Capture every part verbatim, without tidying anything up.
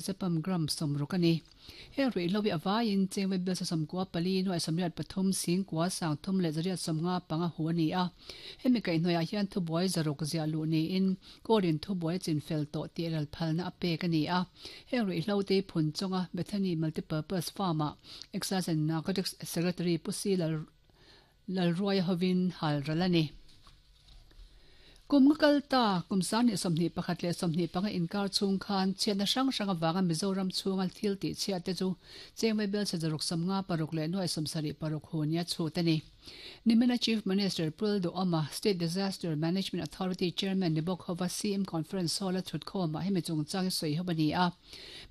Zepam gram sawmruk a ni. Heng ruihhlo hi a vaiin cheng vaibel sawmkua pali nuai sawmriat pathum singkua sangthum leh zariat sawmnga panga hu a ni a. Hemi kaihhnawihah hian thubuai zaruk ziah luh niin Court-in thubuai chin fel tawh tih ral phalna a pek a ni a. Heng ruihhlo te hi phun chawnga Bethany Multipurpose Farm-ah Excise and Narcotics Secretary Pu Si Lalruaia hovin hal ral a ni. Kum nga kal ta, kum sangni sawmhnih pakhat leh sawmhnih panga inkar chhung khan chhiatna hrang hrang avanga Mizoram chhunga thil tih chhiat te chu Chengvai Belchhe zaruk sawmnga paruk leh nuai sawmsarih paruk hu nia chhut a ni. Nimina Chief Minister Pul Duhoma, State Disaster Management Authority Chairman ni bawk hova C M Conference Hall-a thutkhawmah hemi chungchang hi sawi ho a ni a.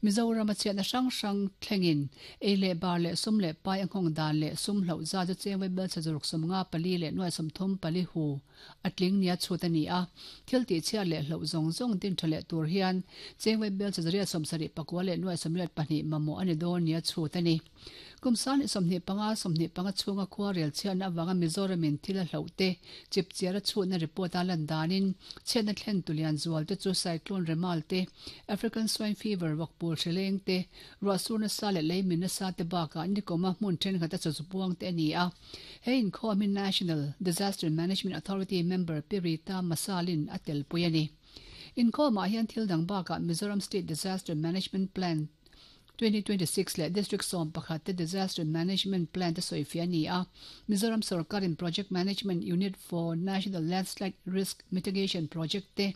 Mizorama chhiatna hrang hrang thlengin ei leh bar leh sum leh pai a nghawng dan leh sum hloh zat chu Chengvai Belchhe zaruk sawmnga pali leh nuai sawmthum pali hu a tling nia chhut a ni a, thil tihchhiat leh hloh zawng zawng din tha leh tur hian Chengvai Belchhe zariat sawmsarih pakua leh nuai sawmriat pahnih mamawh a ni dawn nia chhut a ni. Kum sangni sawmhnih panga sawmhnih panga chhunga khua rel chhiatna avanga Mizoramin thil a hloh te chip chiar a chhutna report a lan danin chhiatna thlen tulian zual te chu Cyclone Remal te, African Swine Fever vakpul hrileng te, ruahsur nasa leh leimin nasa te bakah nikawma hmun thenkhat a chaw puang te a ni a. He inkhawm hi National Disaster Management Authority member Pi Rita Masalin a telpui a ni. Inkhawmah hian thil dang bakah Mizoram State Disaster Management Plan twenty twenty six leh District sawm pakhat te Disaster Management Plan te sawifiah a ni a. Mizoram sorkarin Project Management Unit for National Landslide Risk Mitigation Project te,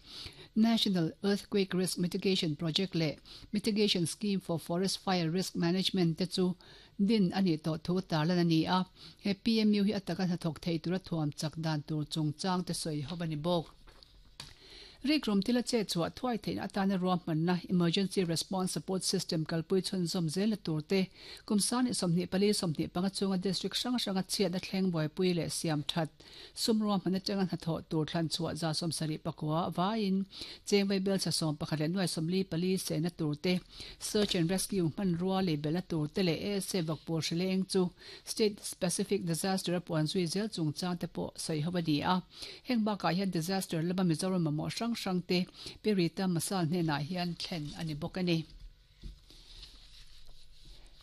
National Earthquake Risk Mitigation Project leh Mitigation Scheme for Forest Fire Risk Management te chu din a nih tawh thu tarlan a ni a. He P M U hi a taka hnathawk thei tura thuam chak dan tur chungchang te sawi ho a ni bawk. Rikrum thil a chet chhuah thuai theihna atana ruahmanna Emergency Response Support System kalpui chhunzawm zelna tur te, kum sangni sawmhnih pali sawmhnih panga chunga district hrang hranga chhiatna thleng buaipui leh siam that sum ruahmanna atanga hnathawh tur thlan chhuah za sawmsarih pakua vaiin Chengvai Belchhe sawm pakhat leh nuai sawmli pali sehna tur te, Search and Rescue hmanrua lei belhna tur te leh A S A vakpur hrileng chu State Specific Disaster a puan zui zel chungchang te pawh sawi ho a ni a. Heng bakah hian disaster lama Mizoram mamawh hrang hrang te Pi Rita Masal hnenah hian thlen a ni bawk a ni.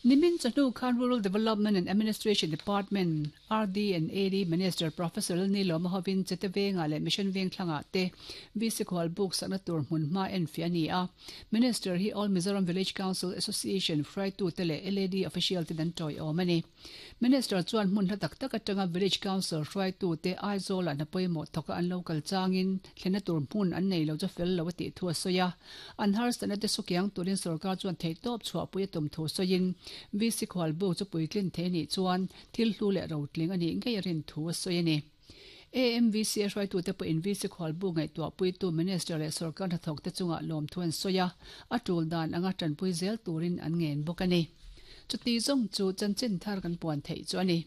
Nimin chawhnu khan Rural Development and Administration Department, R D and A D, Minister Professor Lalnilawma hovin Chete Vengah leh Mission Vengthlangah te V C Khual buk sakna tur hmun hma enfiah a ni a. Minister hi All Mizoram Village Council Association hruaitute leh L A D official ten an tawiawm a ni. Minister chuan hmun hla tak tak atanga Village Council hruaitute Aizawlah hna pawimawh thawka an lo kal changin thlenna tur hmun an nei lo chu fel lo a tih thu a sawi a. An harsatna te sukiang turin sorkar chuan theihtawp chhuahpui a tum thu sawiin V C Khualbuk chu puitlin thei a nih chuan thil hlu leh rotling a nih ngei a rin thu a sawi a ni. A M V C a hruaitute pawhin V C Khualbuk ngaihtuahpuitu Minister leh sorkar hnathawkte chungah lawmthu an sawi a, a tul dan anga tanpui zel turin an ngen bawk a ni. Chuti zawng chu chanchin thar kan puan theih chu a ni.